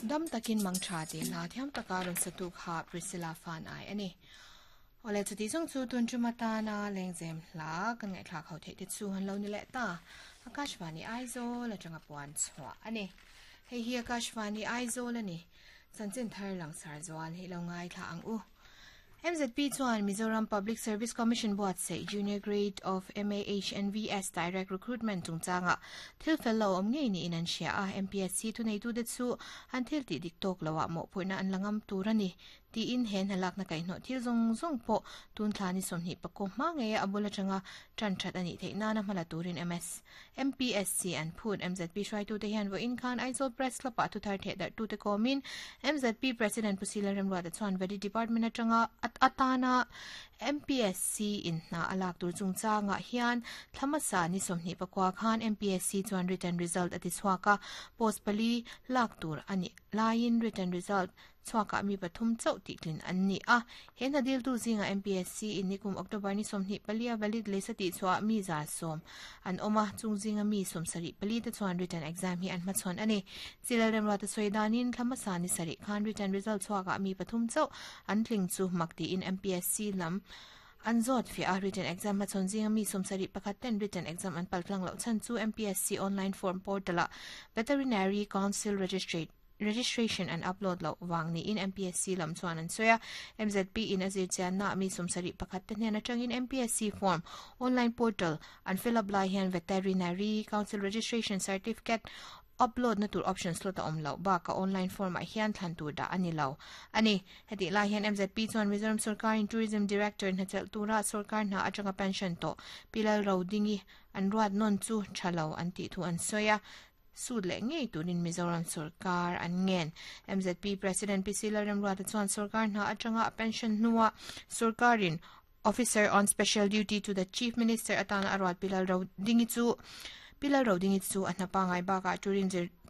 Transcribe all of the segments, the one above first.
Dam takin mang tha tih hla thiam taka rawn satu kha Priscilla Fanai a ni. Awle chuti zawng chu tun tum atana lengzem hla kan ngaihthlak ho theih te chu an lo ni leh ta. Akashvani Aizawl atanga puan chhuah a ni. Hei hi Akashvani Aizawl a ni. Chanchin thar langsar zual hi lo ngaithla ang u. MZP chuan Mizoram Public Service Commission buatsaih Junior Grade of MAHNVS Direct Recruitment chungchanga thil fel lo awm ngei niin an hria a, MPSC thuneitute chu an thil tih dik tawk loah mawhphurhna an la ngam tur a ni tiin he hnalakna kaihhnawh thil zawng zawng pawh tun thla ni 20 pakaw hma ngeia a bul atanga tan that a nih theih nana hmala turin MS MPSC an phut. MZP hruaitute hian vawiin khan Aizawl Press Club-ah thuthar thehdarhtute kawmin MZP President Pu Sila Remruata chuan Valley Department atanga atana MPSC in hna a lak tur chungchangah hian thla hmasa ni 24 khan MPSC chuan written result a tichhuak a, post pali lak tur a nih laiin written result Chhuakah mi pathum chauh tihtlin an ni a. He hna diltu zingah MPSC in nikum October ni 24 a valid list a tihchhuah mi 110 an awm a, chung zinga mi 74 te chuan written exam hi an hmachhawn a ni. Chilal Remruata sawi danin thla hmasa ni sarih khan written result chhuakah mi pathum chauh an tling chu mak tiin MPSC lam an zawt fiah a, written exam hmachhawn zinga mi 71 ten written exam an paltlang loh chhan chu MPSC online form portal-ah Veterinary Council Registrate Registration an upload loh vang niin MPSC lam chuan an sawi a. MZP in a zirchianna ah mi 71 te hnen atangin MPSC form online portal an fill up lai hian Veterinary Council Registration Certificate upload na tur option slot a awm loh bakah online form ah hian thlan tur dah a ni lo a ni. Hetih lai hian MZP chuan Mizoram sorkarin Tourism Director hnachelh tura sorkar hna atanga pension tawh Pi Lalrodingi an ruat nawn chu tha lo an tih thu an sawi a. Sut leh ngei turin Mizoram sorkar an ngen. MZP President PC Lalremruata chuan sorkar hna atanga a pension hnuah sorkarin Officer on Special Duty to the Chief Minister atana a ruat Pi Lalrodingi chu Pi Lalrodingi chu a hna pangngai bakah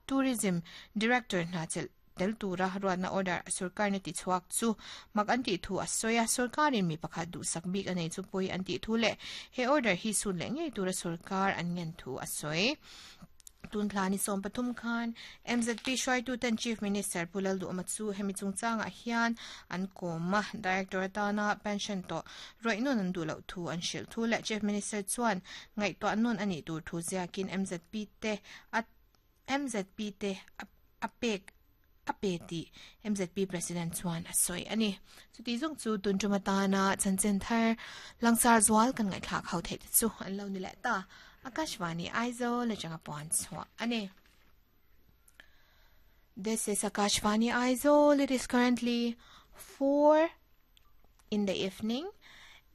Tourism Director hna chelh tel tura ruatna order sorkarna tichhuak chu mak an tih thu a sawi a, sorkarin mi pakhat duhsak bik a nei chu pawi an tih thu leh he order hi sut leh ngei tura sorkar an ngen thu a sawi. Tun thla ni 13 khan MZP hruaituten Chief Minister Pu Lalduhawma chu hemi chungchangah hian an kawm a, Director atana pension tawh rawih nawn an duh loh thu an hrilh thu leh Chief Minister chuan ngaihtuah nawn a nih tur thu ziakin MZP te a MZP te a pek a pe tih MZP President chuan a sawi a ni. Chuti zawng chu tun tum atana chanchin thar langsar zual kan ngaihthlak ho theih te chu an lo ni leh ta. Akashvani Aizawl atanga puan chhuah a ni. This is Akashvani Aizawl. It is currently 4 in the evening.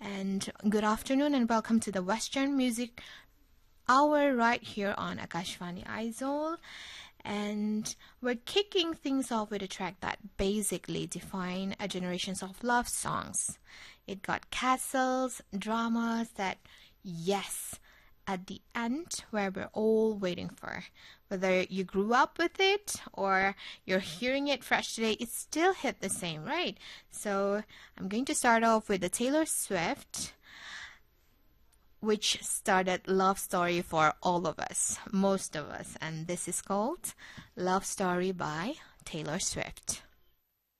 And good afternoon and welcome to the Western Music Hour right here on Akashvani Aizawl. And we're kicking things off with a track that basically defined a generations of love songs. It got castles, dramas that, yes, at the end where we're all waiting for. Whether you grew up with it or you're hearing it fresh today, it still hit the same, right? So I'm going to start off with the Taylor Swift which started love story for all of us, most of us, and this is called Love Story by Taylor Swift.